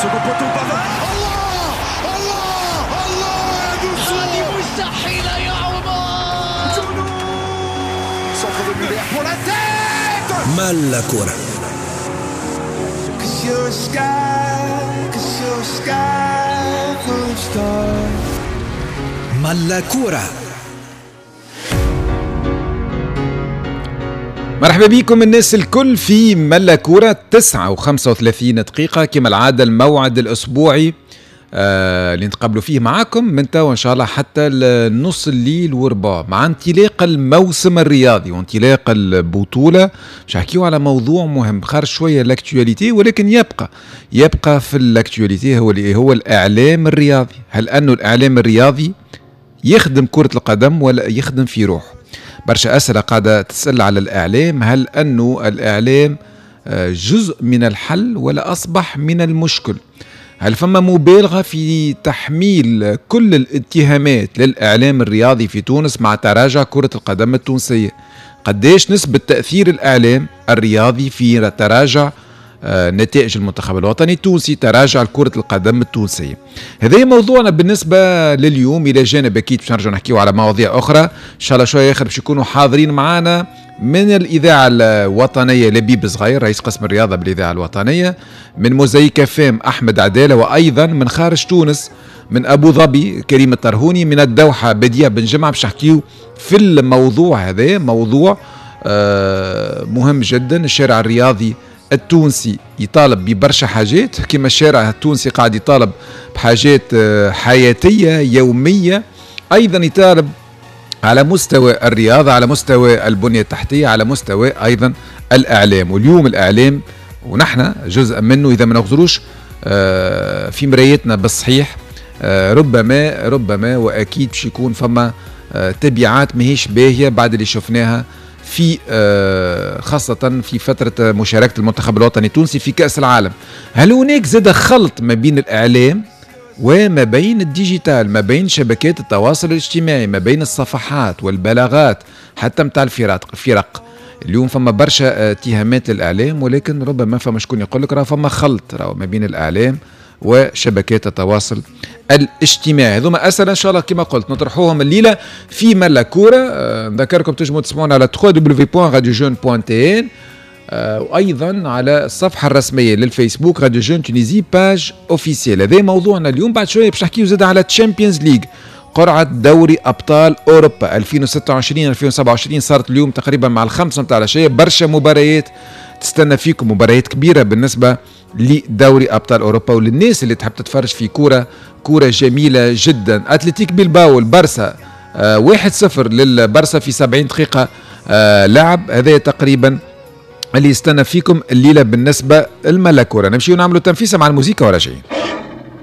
Second poteau Pavard. الله الله الله هذه مستحيلة يا عمر. Centre de Muller pour la tête. ملا كرة. Cause you're a sky, cause you're a sky full of stars. ملا كرة. مرحبا بكم الناس الكل في ملا كورة، 9:35 كما العادة، الموعد الأسبوعي اللي نتقابلوا فيه معاكم من توا إن شاء الله حتى نص الليل وربع، مع انطلاق الموسم الرياضي وانطلاق البطولة. باش نحكيو على موضوع مهم خارج شوية l'actualité، ولكن يبقى في l'actualité، هو اللي هو الإعلام الرياضي. هل أنه الإعلام الرياضي يخدم كرة القدم ولا يخدم في روحه؟ برشا أسئلة قاعدة تسأل على الإعلام. هل أنه الإعلام جزء من الحل ولا أصبح من المشكل؟ هل فما مبالغة في تحميل كل الاتهامات للإعلام الرياضي في تونس مع تراجع كرة القدم التونسية؟ قديش نسبة تأثير الإعلام الرياضي في تراجع نتائج المنتخب الوطني التونسي، تراجع كرة القدم التونسية؟ هذا موضوعنا بالنسبة لليوم، إلى جانب أكيد باش نرجع نحكيو على مواضيع أخرى إن شاء الله شوية آخر. باش يكونوا حاضرين معنا من الإذاعة الوطنية لبيب صغير رئيس قسم الرياضة بالإذاعة الوطنية، من موزايك فام أحمد عدالة، وأيضا من خارج تونس من أبو ظبي كريم الطرهوني، من الدوحة بديع بن جمعة، باش نحكيو في الموضوع هذا، موضوع مهم جدا. الشارع الرياضي التونسي يطالب ببرشا حاجات، كما الشارع التونسي قاعد يطالب بحاجات حياتية يومية، أيضا يطالب على مستوى الرياضة، على مستوى البنية التحتية، على مستوى أيضا الإعلام. واليوم الإعلام ونحن جزء منه، إذا ما نغزروش في مرايتنا بالصحيح، ربما وأكيد باش يكون فما تبعات ماهيش باهية بعد اللي شفناها في خاصة في فترة مشاركة المنتخب الوطني التونسي في كأس العالم. هل هناك زاد خلط ما بين الإعلام وما بين ال digital، ما بين شبكات التواصل الاجتماعي، ما بين الصفحات والبلاغات حتى متاع الفرق؟ اليوم فما برشا اتهامات للإعلام، ولكن ربما فما شكون يقول لك راه فما خلط راه ما بين الإعلام وشبكات التواصل الاجتماعي. هذوما أسئلة إن شاء الله كما قلت نطرحوهم الليلة في ملا كورة. نذكركم تنجموا تسمعونا على www.radiojeune.tn، وأيضا على الصفحة الرسمية للفيسبوك Radio Jeune Tunisie page officielle. هذا موضوعنا اليوم. بعد شوية باش نحكيو زاد على Champions League، قرعة دوري أبطال أوروبا 2026-2027 صارت اليوم تقريبا مع 5 متاع العشية. برشا مباريات تستنى فيكم، مباريات كبيرة بالنسبة لدوري أبطال أوروبا وللناس اللي تحب تتفرج في كورة جميلة جدا. أتلتيك بيلباو البرسا 1-0 للبرسا في 70 دقيقة لعب. هذا تقريبا اللي يستنى فيكم الليلة بالنسبة الملا كورة. نمشيو نعملوا تنفيسة مع الموسيقى وراجعين.